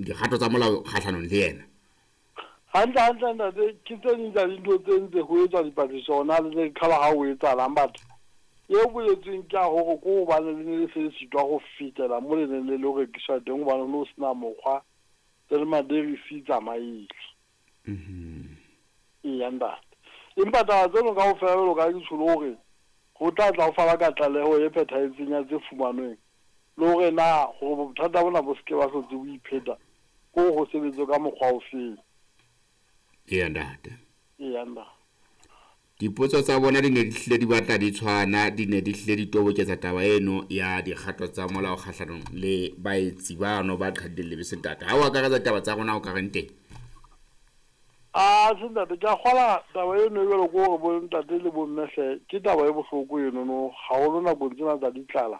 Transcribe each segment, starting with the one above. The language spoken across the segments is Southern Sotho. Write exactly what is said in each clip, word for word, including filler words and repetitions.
dikgato tsa molao kgahlanong le yena. Hantle hantle ntate, ke tse ding tsa dintho tse ntse ho etswa dipatlisiso hona le tse kgala ha o etsahalang batho. E boletsweng ke ya hore ko hobane le ne le se le sitwa ho fetela mo le neng le lo rekiswa teng hobane ho no sena mokgwa tse le maderisi tsamaile. Eya ntate. Empa taba tseno kaofela jwalo ka ke tjholo hore ho tla tla ho fana ka tlaleho e phethahetseng ya tse fumanweng le hore na hore bothata bona bo se ke ba hlotse bo ipheta ko ho sebetswe ka mokgwa ofeng. Eya ntate. Eya ntate. Dipotso tsa bona di ne di hlile di batla di tshwana, di ne di hlile di toboketsa taba eno ya dikgato tsa molao kgahlanong le baetsi bano ba qhadileng lebese ntate. Ha o akaretsa taba tsa rona o ka reng teng? A se ntate, ke a kgola taba eno e jwalo ke hore bo ntate le bo mme hle ke taba e bohloko eno no haholo nakong tsena tsa ditlala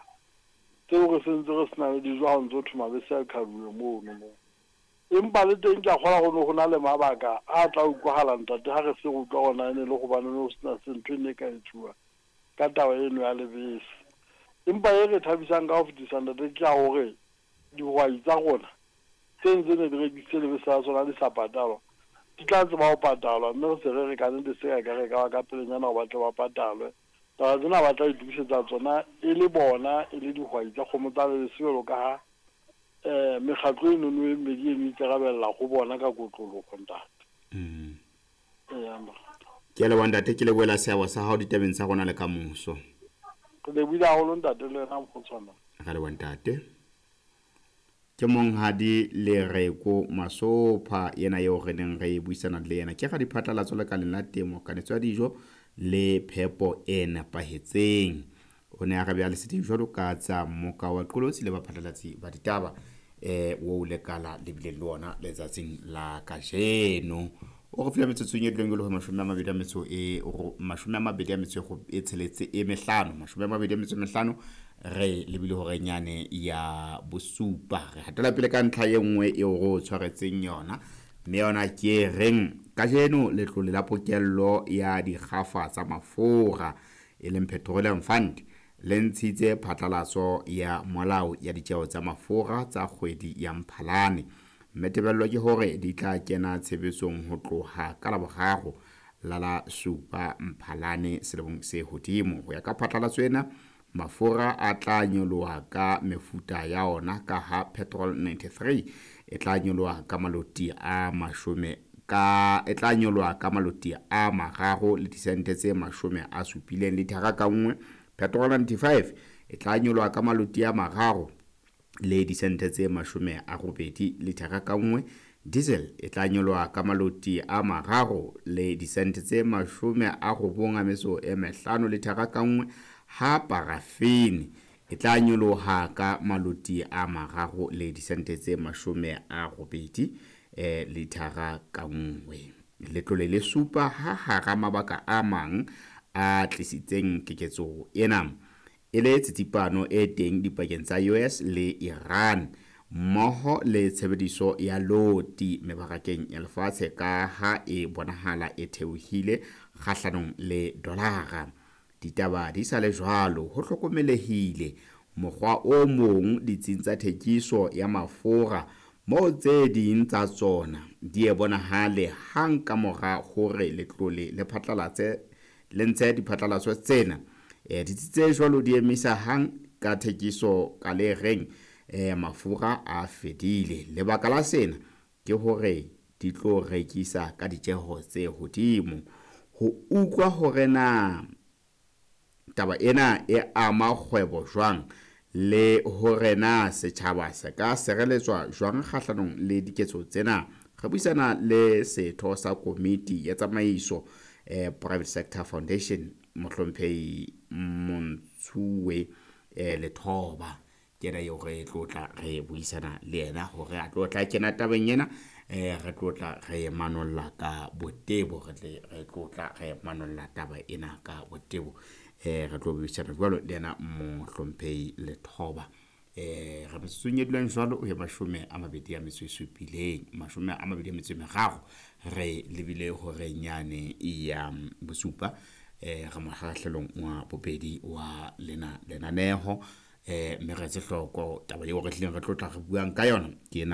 tseo re sentse re sena le dijo ha o ntso thwe mabese a qhaduwe mono mo. Empa le teng ke a kgola ho no ho na le mabaka a tla utlwahala ntate ha re se re utlwa hona e ne le hobane no sena se ntho e ne e ka etsuwa ka taba eno ya lebese. Empa e re thabisang ka ho fetisa ntate ke ya hore dihwai tsa rona tse ntse ne di rekisitse lebese la tsona di sa patalwa di tla tseba ho patalwa, mme re se re re ka nnete se ka re ka ba ka pelenyana hore ba tle ba patalwe. Taba tsena ba tla itokisetsa tsona e le bona e le dihwai tsa kgomo tsa lebese jwalo ka ha eh mekgatlo eno no e mmedi eno e ikarabella ho bona ka kotloloho ntate. Mm. Eya ntate. Ke a leboha ntate, ke lebohela seabo sa hao ditabeng tsa rona le kamoso. Re lebohile haholo ntate le wena mokgotshwana. Re leboha ntate. Ke monghadi Lereko Masopha yena eo re neng re buisana le yena. Ke radiphatlalatso lekaleng la temo, kanetso ya dijo le phepo e nepahetseng. O ne a re beha leseding jwalo ka tsa mmoka wa qolotsi le baphatlalatsi ba ditaba eh o lekala le bileng le ona letsatsing la kajeno. O re file metsotsong e dileng e le ho mashome a mabedi a metso e mashome a mabedi a metso e tsheletse e mehlano, mashome a mabedi a metso e mehlano re lebile hore nyane ya bosupa. Re hatela pele ka ntlha e nngwe eo re o tshwaretseng yona, mme yona ke e reng kajeno letlole la pokello ya dikgafa tsa mafura e leng Petroleum Fund le ntshitse phatlalatso ya molao ya ditjeo tsa mafura tsa kgwedi ya Mphalane, mme tebello ke hore di tla kena tshebetsong ho tloha ka Laboraro la la supa Mphalane selemong se hodimo. Ho ya ka phatlalatso ena, mafura a tla nyoloha ka mefuta ya ona ka ha petrol ninety-three e tla nyoloha ka maloti a mashome ka e tla nyoloha ka maloti a mararo le disente tse mashome a supileng lithara ka nngwe. Petrol ninety-five e tla nyoloha ka maloti a mararo le disente tse mashome a robedi lithara ka nngwe. Diesel e tla nyoloha ka maloti a mararo le disente tse mashome a robong a metso e mehlano lithara ka nngwe, ha paraffin e tla nyoloha ka maloti a mararo le disente tse mashome a robedi eh lithara ka nngwe. Letlole le supa ha hara mabaka a mang a tlisitseng keketso ena e le tsitsipano e teng dipakeng tsa U S le Iran mmoho le tshebediso ya loti mebarakeng ya lefatshe ka ha e bonahala e theohile kgahlanong le dolara. Ditaba di sa le jwalo, ho hlokomelehile mokgwa o mong ditsing tsa thekiso ya mafura moo tse ding tsa tsona di e bonahale hang ka mora hore letlole le phatlalatse le ntshe diphatlalatso tsena. Eh, ditsi tse jwalo di emisa hang ka thekiso ka le reng eh, mafura a fedile. Lebaka la sena ke hore di tlo rekisa ka ditjeho tse hodimo. Ho utlwa hore na taba ena e ama kgwebo jwang le hore na setjhaba se ka sireletswa jwang kgahlanong le diketso tsena, re buisana le setho sa komiti ya tsamaiso eh, Private Sector Foundation mohlomphehi Montshuwe eh, Lethoba. Ke yena eo re tlotla re buisana le yena hore a tlotla kena tabeng ena, eh, re tlotla re manolla ka botebo, re tle re tlotla re manolla taba ena ka botebo. Eh, re tlo buisana jwalo le yena mohlomphehi Lethoba. Eh, re metsotsong e dulang jwalo ho ya mashome a mabedi a metso e supileng, mashome a mabedi a metso e meraro, re lebile hore nyane ya bosupa. Eh, re mokgahlelong wa bobedi wa lena lenaneho. Eh, mme re etse hloko taba eo re tlileng re tlotla re buang ka yona ke ena.